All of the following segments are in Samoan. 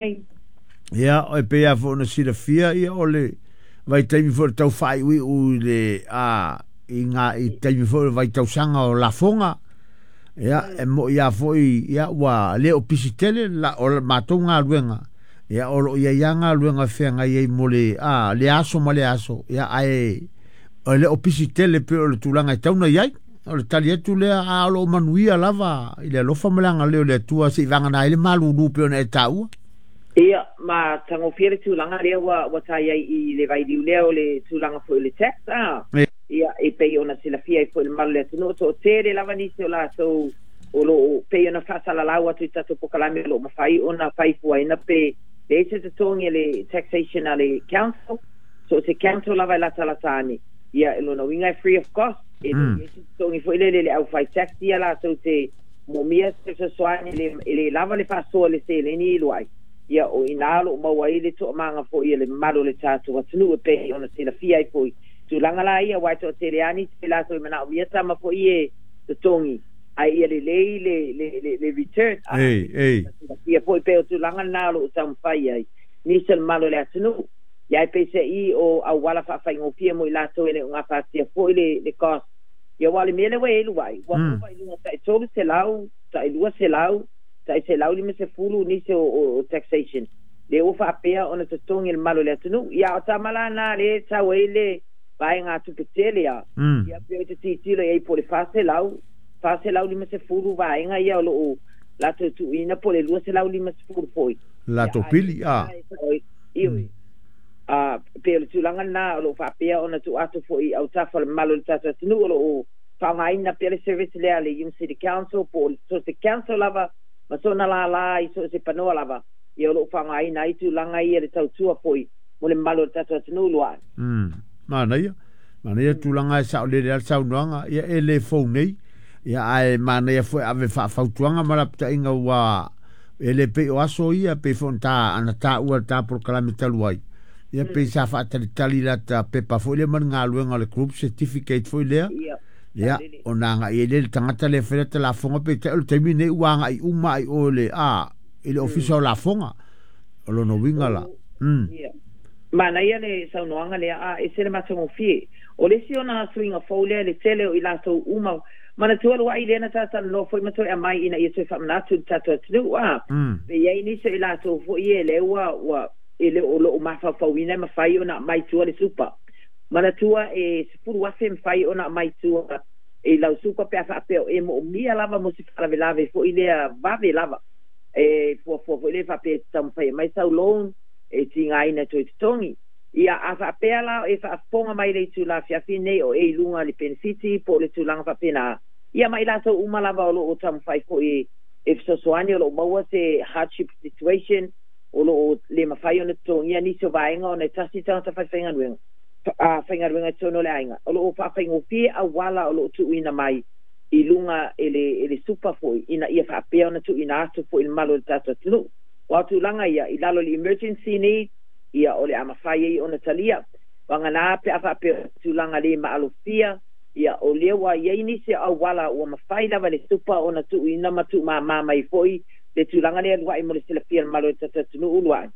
Nei. Ia, e pei lava foi ona silafia, ia, o le vaitaimi foi o le tau faaiuiu i le, a, i ngā, i taimi foi o le vaitausaga o lafoga. Ia, e mo'i lava foi, ia, ua le o pisi tele la, o le matou galuega. Ia, o lo o i ai lava galuega e feagai ai mo le, a, le aso ma le aso. Ia, ae e le o pisi tele pei o le tulaga e tatau ona i ai. O le tali atu lea, a o lo o manuia lava i le alofa ma le agalelei o le Atua seivagana ai le malulu pei ona e taua. Ia, ma tagofia le tulaga lea ua, ua ta i ai i le vailiu lea o le tulaga foi o le tax, a. Ia, e pei ona silafia ai foi le mamalu o le atunuu, toatele lava nisi o latou o lo o, pei ona faasalalau atu i tatou polokalame o lo o mafai ona fai fuaina pe leai se totogi a le taxation a le council, so o se council lava e latalata ane, ia, o lona uiga e free of cost, e le i ai se totogi foi lele i le aufai tax ia latou te moomia se fesoasoani, e le lava le faasoa i le seleni i luai. Ia, o i ina o lo o maua ai le toamaga foi a le mamalu o le tatou atunuu e pei ona silafia ai foi tulaga la ia, aua e toatele lava nisi o i latou e manaomia tama foi e totogi, ae ia lelei le, le, le, le return. A, silafia foi pei o tulaga lena o lo o taumafai ai nisi o le mamalu o le atunuu. Ia, ae peiseai o auala faafaigofie mo i latou e le o gafatia foi le, le cost. Ia, aua o le mea lea ua i ai luai, ua ova i luga tai 300, tai 200, tai 150 nisi o, o, o taxation. Lea ua faapea ona totogi e le mamalu o le atunuu. Ia, o tama la na lea e tau ai le vaega tupe tele a. Ia, pei o te tilotilo i ai po o le 400, 450 vaega ia o lo o latou tuuina po o le 250 foi. Latou pili, a. Ioe. A, pei o le tulaga lena o lo o faapea ona tuu atu foi i autafa o le mamalu o le tatou atunuu o lo o faaaogaina pea le service lea a le Hume City Council po o so o se council lava ma sona lālā i so o se panoa lava, ia o lo o faaaogaina ai tulaga ia le tautua foi mo le mamalu o le tatou atunuu Luai. Manaia. Manaia tulaga e saolele lava le saunoaga, ia e le fou nei. Ia ae manaia foi ave faafautuaga ma lapataiga ua e le pei o aso ia pei foi ona ta ana taua i le ta polokalame talu ai. Ia pei sa faatalitali lata pepa foi lea ma le galuega o le group certificate foi lea. Ia, ona agai ai lea i le tagata lea e fai lata lafoga, peitai o le taimi lenei ua agai uma lava i o i le, a, i le Ofisa o Lafoga. O lona uiga la, Ia. Manaia le saunoaga lea, a ese le matagofie. O le isi ona suiga fou lea i le tele o i latou uma, manatua luai lea na ta talanoa foi ma toe aumai ina ia toe faamanatu i le tatou atunuu, a, pe i ai nisi o i latou foi ia lea ua, ua, e le o lo o mafaufauina e mafai ona aumai tua le supa. Manatua e 10,000 e mafai ona aumai tua i lau supa pe a faapea o e moomia lava mo se faalavelave foi lea vave lava. E fuafua foi lea faapea e te taumafai e aumai sau loan e tigaina e toe totogi. Ia, a faapea la o e faafofoga mai i le itula afiafi nei o e i luga i le penefiti po o le tulaga faapena, ia ma i latou uma lava o lo o taumafai foi e fesoasoani o lo o maua se hardship situation o lo o le mafai ona totogia nisi o vaega ona e tasi le tagata faifaigaluega, a faigaluega i totonu o le aiga, o lo o faafaigofie auala o lo o tuuina mai i luga e le, e le supa foi ina ia faapea ona tuuina atu foi i le mamalu o le tatou atunuu. Aua o tulaga ia, i lalo o le emergency need, ia o le a mafai ai ona talia. Vagana pe a faapea o tulaga le maalofia, ia o lea ua i ai nisi o auala ua mafai lava e le supa ona tuuina ma tuumama mai foi le tulaga lea lua'i mo le silafia e le mamalu o le tatou atunuu lua'i.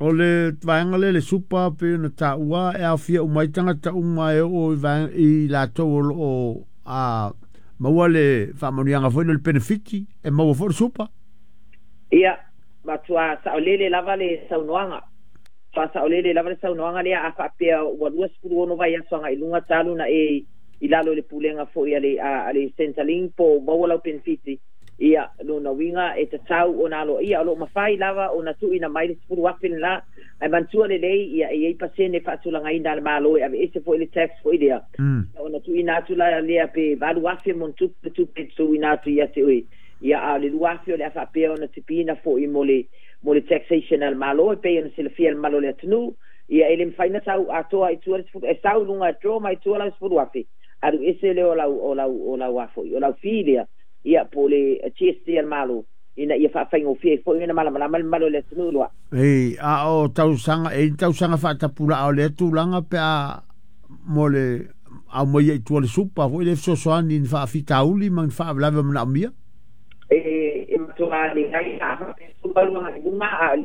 O le vaega lea le supa pei ona taua e aofia uma ai tagata uma e oo i vaega i latou o lo o a maua le faamanuiaga foi lea o le penefiti e maua foi le supa. Ia, matua saolele lava le saunoaga. Faasaolele lava le saunoaga lea a faapea ua 26 vaiaso agai i luga talu na e i lalo i le pulega foi a le a le Centrelink po o maua lau penefiti. Ia, lona uiga e tatau ona aloaia, o lo o mafai lava ona tuuina mai le 10,000 lena, ae manatua lelei, ia, e i ai pasene faatulagaina a le Malo e aveese foi le tax foi lea, ona tuuina atu la lea pe 8,000 mo ni tupe le tupe e tuuina atu ia te oe, ia, a o le 2,000 o le a faapea ona tipiina foi mo le, mo le taxation a le Malo e pei ona silafia e le mamalu o le atunuu, ia, e le mafai ona sau atoa i tua le 10, e sau i luga e draw mai tua lau 10,000, alu ese lea o lau, o lau, o lau a foi, o lau fee lea. Ia, po o le GST a le Malo, ina ia faafaigofie ai foi ona malamalama le mamalu o le atunuu loa. Ei, a o tausaga, e i ai ni tausaga faatapulaa o lea tulaga pe a mo le aumaia i tua o le supa foi lea e fesoasoani i ni faafitauli ma ni faalavelave o manaomia? E Matuā leai a faapea 18 agai i luga a